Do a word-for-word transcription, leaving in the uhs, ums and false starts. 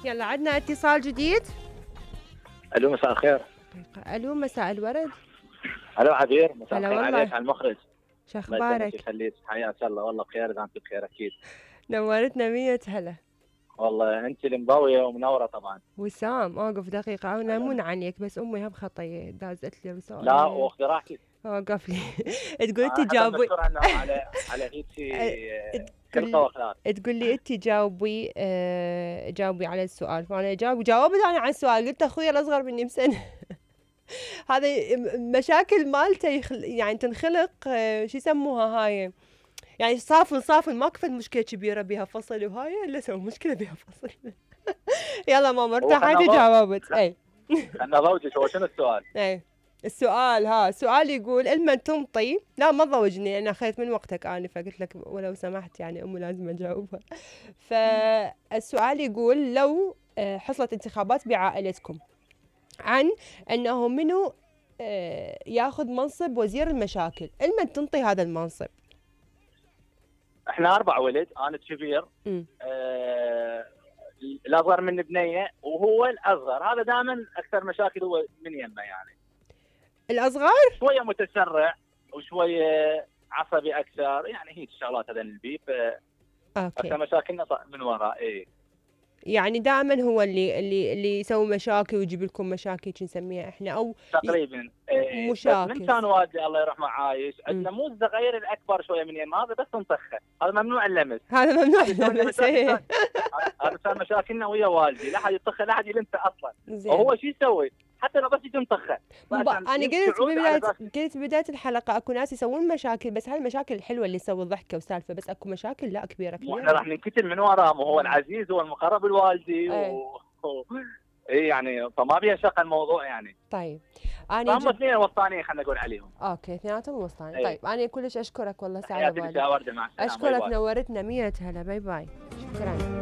يلا عندنا اتصال جديد. الو مساء الخير. الو مساء الورد. الو عبير، مساء هلا الخير والله. عليك على المخرج. شو اخبارك؟ يخليك، حياك الله. والله بخير اذا انت بخير اكيد. نورتنا مية هلا. والله انت المضويه ومنوره طبعا. وسام اوقف دقيقة، انا مو عنيك بس امي هم خطية دازت لي رسالة. لا واخذي راحتك. اوقف لي. تقول انت جاوبي على على هيك خلقه واخلاق. تقول لي انت جاوبي آه جاوبي على السؤال، فانا جاوب جاوبت انا على السؤال، قلت اخوي الاصغر مني بسنة. هذا مشاكل مالته يخل... يعني تنخلق آه شو يسموها هاي، يعني صافن صافن ما كفت مشكلة كبيرة بها فصل وهاي الا سوي مشكلة بها فصل. يلا ماما ارتاحتي جاوبت. اي خلنا ضوجك. هو شنو السؤال؟ اي السؤال ها السؤال يقول لما تنطي، لا ما تضوجني انا اخذت من وقتك انفه، قلت لك ولو سمحت يعني امي لازم اجاوبها. فالسؤال يقول لو حصلت انتخابات بعائلتكم عن انه منو ياخذ منصب وزير المشاكل، لمن تنطي هذا المنصب؟ احنا اربع ولد، انا الكبير، آه الاصغر من بنيه وهو الاصغر. هذا دائما اكثر مشاكل هو من يمه يعني. الاصغر شويه متسرع وشويه عصبي اكثر، يعني هيك الشغلات هذا البيب. اوكي. اكثر مشاكلنا من وراء. ايه يعني دائما هو اللي اللي اللي يسوي مشاكل ويجيب لكم مشاكل نسميها احنا، او تقريبا إيه مشاكل. من كان والدي الله يرحمه عايش عندنا مو الصغير الاكبر شويه من يم، هذا بس نطخه، هذا ممنوع اللمس. هذا ممنوع اللمس. هذا صار مشاكلنا ويا والدي، لا حد يطخه لا حد يلمسه اصلا. وهو شو يسوي؟ حتى لو بس يجي مطخه. انا قلت ببدايه قلت بدايه الحلقه اكو ناس يسوون مشاكل، بس هالمشاكل الحلوه اللي يسوي ضحكه وسالفه، بس اكو مشاكل لا كبيره كبيره. واحنا راح ننكتل من وراه، وهو العزيز هو المقرب الوالدي. ايه. و... ايه يعني فما بيها شق الموضوع يعني. طيب انا هم اثنين وسطانيين خلينا نقول عليهم. اوكي اثنيناتهم وسطانيين. ايه. طيب انا كلش اشكرك والله سعيده بالك. اشكرك، نورتنا. مية هلا. باي باي. شكرا.